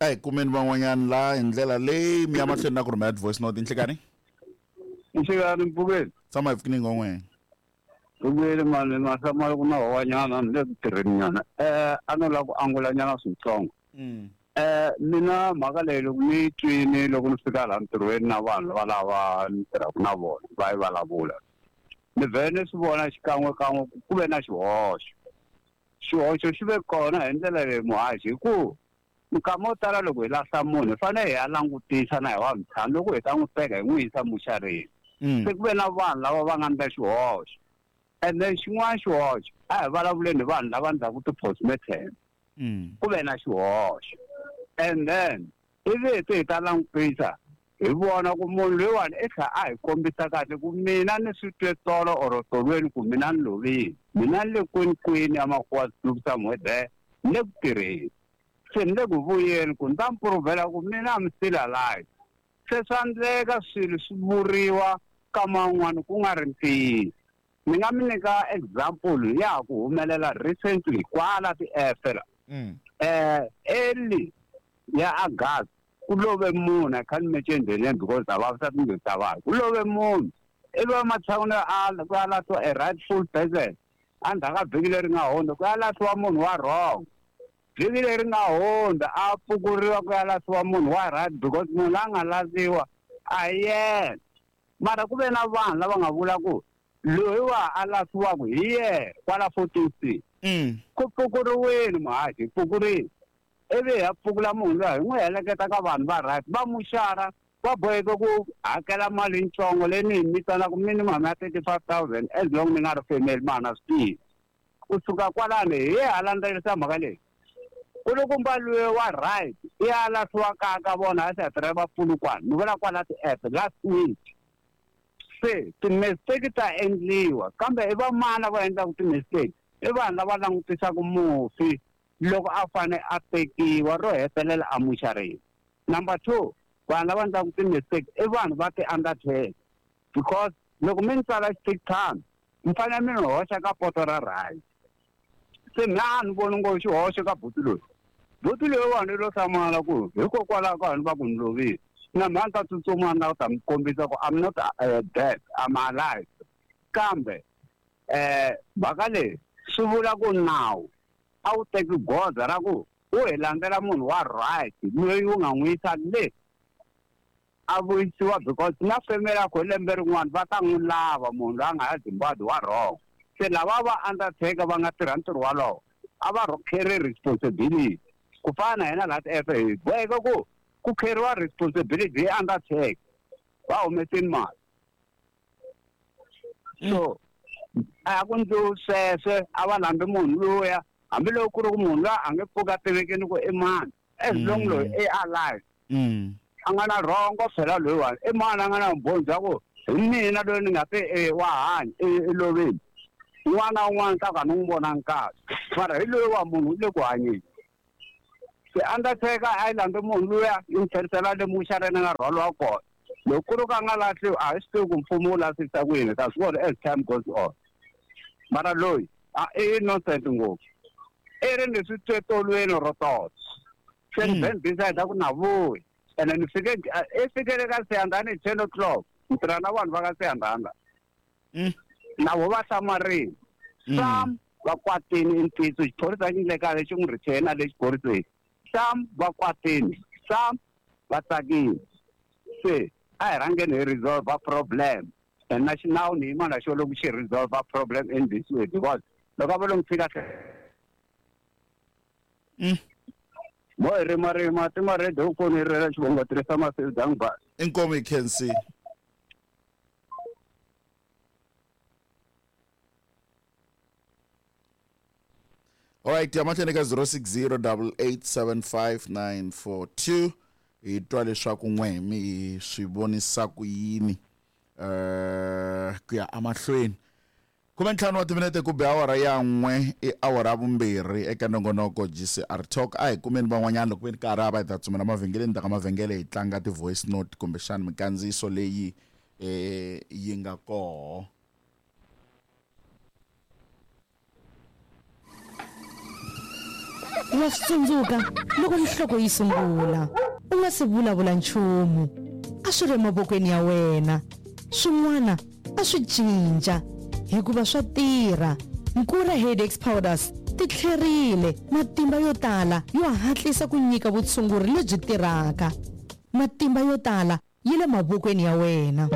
A hi kumeni van'wanyana la hi ndlela leyi mi ya mahlweni na ku rhumela ti-voice note. Nhlikani. Nhlikani mpfukeni. Tshama hi pfukini ngon'wena. Vuyeli mani mahlamala ku na howanyana ni le ku tirheni nyana. A no lava ku angula nyana switsongo. Mina mhaka leyi loko ni yi twini loko ni fika laha ntirhweni na vanhu valava ni tirhaka na vona va yi vulavula. Ni vhele ni swi vona xikan'we kan'we ku ku ve na xihoxo. Xihoxo xi ve kona hi ndlela leyi muhaxi hi ku nkama wo tala loko hi lahla munhu hi fanele hi ya langutisa na hi wa mutshami loko hi ta n'wi teka hi n'wi yisa muxareni. Se ku ve na vanhu lava va nga ndla xihoxo. And then xin'wana xihoxo a hi vulavuleni hi vanhu lava ndlaku ti-postmortem. Ku ve na xihoxo. And then ivi hi ta langutisa hi vona ku munhu loyiwani i tlha a hi kombisa kahle ku mina ni swi twe tolo or tolweni ku mina ni lovile. Mina ni le kwini kwini ya Makhuwa Kloof somewhere there ni le ku tirheni. Se ni le ku vuyeni ku ni ta mi puruvhela ku mina I'm still alive. Se swa endleka swilo swi vuriwa ka man'wani ku nga ri ntiyiso. Ni nga mi nyika example ya ha ku humelela recently kwala ti-F la. Early ya August ku love munhu, I can't mention the name because a vavisa timbilu ta vanhu. Ku love munhu ivi ematshan'wini yo ala ku ya lahliwa a rightful person endzhaku ka vhiki leri nga hundza ku ya lahliwa munhu wa wrong. Vhiki leri nga hundza a pfukuriwa ku ya lahliwa munhu wa right because munhu la nga lahliwa a hi yena. Mara ku ve na vanhu lava nga vula ku loyi wa a lahliwaka hi yena kwala 14C. Ku pfukuriwile muhaxi, hi pfukurile. Ivi hi ya pfukula munhu luya hi n'wi heleketa ka vanhu va right va muxara va boheke ku hakela mali yitsongo leyi ni yi vitanaka minimum ya 35,000 as long ni nga ri family mara na swi tivi. Kusuka kwalano hi ye ha landzelerisa mhaka leyi. Kulukumba luye wa right i ya lahliwa kaya ka vona a se va Polokwane ni vula kwala ti-app last week. Se ti-mistake ta endliwa kambe i va mani lava endlaka ti-mistake? I vanhu lava langutisaka mufi loko a fane a tekiwa ro hetelela a muxareni. Number 2, vanhu lava endlaka ti-mistake i vanhu va ti-undertaker because loko mi ni tsala xithikithana mi fanele mi ni hoxa ka poto ra right. Se mina a ni voni ngopfu xihoxo ka buti loyi. Buti loyiwani i lo hlamala ku hikokwalaho ka vanhu va ku ni lovile. Na mina a ni ta tsutsuma ni lava ku ta mi kombisa ku I'm not dead, I'm alive. Kambe mhaka leyi swi vula ku nawu a wu teki goza ra ku wu hi landzela munhu wa right loyi wu nga n'wi yisa le a vuyisiwa because na family yakwe lembe rin'wana va ta n'wi lava munhu loyi a nga ya Zimbabwe wa wrong. Se lava va undertaker va nga tirha ntirho walowo a va carry responsibility ku fana na hina laha ti-F hi boheka ku ku carry-wa responsibility hi undertaker va humesini mali. So a ku ndliwi sweswe a va landzi munhu luya hambiloko ku ri ku munhu luya a nge pfuki a tivekini ku i mani as long loyi i alive. A nga na rhongo phela loyiwani i mani a nga na vumbhoni bya ku hi mina loyi ni nga te e wa hanya i lovile. Un'wana na un'wana ta ku a ni n'wi vonangi kahle mara hi loyi wa munhu u le ku hanyeni. Se undertaker a yi landzi munhu luya yi n'wi tlherisela le muxareni a nga rhwaliwa kona. Loko ku ri ku a nga lahliwi a hi swi tivi ku mfumo wu lahlisa ku yini, hi ta swi vona as time goes on. Mara loyi a i innocent ngopfu. I ri ni swi twe tolweni ro tota. Se ni then decide ku na vuyi. Ene ni fike i fikele ka Siyandhani hi 10 o'clock. Ni tirha na vanhu va ka Siyandhani la. Na vo va hlamarile. Some va kwatini i ntiyiso xiphorisa xi ndle kahle xi n'wi retain le xiphoriseni. Some va kwatini, some va tsakile. Se a hi rhangeni hi resolve problem. And na xinawu ni yima na xo loko xi resolve problem in this way because loko a va lo n'wi tshika Mo hi rima rima ti ma radio ku ni rela xivongo tirhisa masiku dangi ba. Inkomu hi khensi. All right, ya mahlweni ka 0608875942 hi twa leswaku n'we mi swi vonisa ku yini ku ya emahlweni. 15 wa timinete ku be awara ya 1 i awara ya vumbirhi eka nongonoko GCR Talk. A hi kumeni van'wanyana loko ve ni karhi a va hi ta tsutsumela mavhengeleni ta ka mavhengele hi tlanga ti-voice note kumbexana minkandziyiso leyi yi nga koho. Wa swi tsundzuka loko nhloko yi sungula u nga si vulavula nchumu. A swi ri emavokweni ya wena. Swin'wana a swi cinca hikuva swa tirha. Nkura Headaches Powders ti tlherile, matimba yo tala yo hatlisa ku nyika vutshunguri lebyi tirhaka. Matimba yo tala yi le mavokweni ya wena.